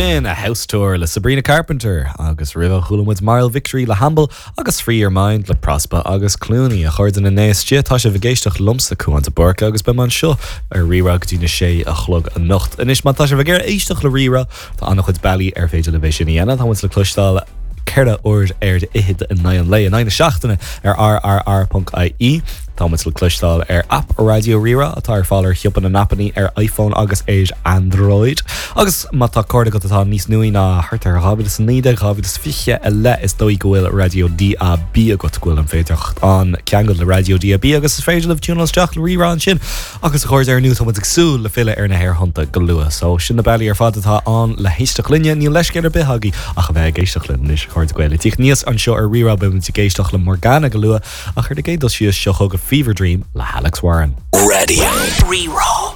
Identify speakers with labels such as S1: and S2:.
S1: B'in A House Tour le Sabrina Carpenter agus roimhe chuala muid Mild Victory le Hamble agus Free Your Mind le Prospa agus Clooney. A chairde na n-aos Dia, tá sibh ag éisteacht liomsa, Cuán de Búrca, agus beidh mé anseo ar Rí-Rá go dtí na sé a chlog anocht. Anois má tá sibh ag iarraidh éisteacht le Rí-Rá, tá an-chuid bealaí ar féidir libh é sin a dhéanamh. Tá muid le cloisteáil 4 uair ar fhichead in aghaidh an lae, in aghaidh na seachtaine ar rrr.ie. Tá muid le cloisteáil ar aip Raidió Rí-Rá atá ar fáil ar shiopa na n-aipeanna ar iPhone agus ar Android. Agus má tá cárta agat atá níos nuaí ná thart ar 2019, 2020 i leith, is dóigh go bhfuil raidió DAB agat, go bhfuil an féidearthacht ann ceangal le raidió DAB agus is féidir libh tiúnáil isteach le Rí-Rá ansin. Agus a chairde, ar ndóigh tá muid ag súil le filleadh ar na haerthonnta go luath. So sin na bealaí ar fad atá ann le héisteacht linne. Níl leithscéal ar bith agaibh ach a bheith ag éisteacht linn anois, a chairde Gael. Ag tíocht aníos anseo ar Rí-Rá beidh muid ag éisteacht le Morgana go luath ach ar an gcéad dul síos seo chugaibh Fever Dream le hAlex Warren.
S2: Radio Rí-Rá.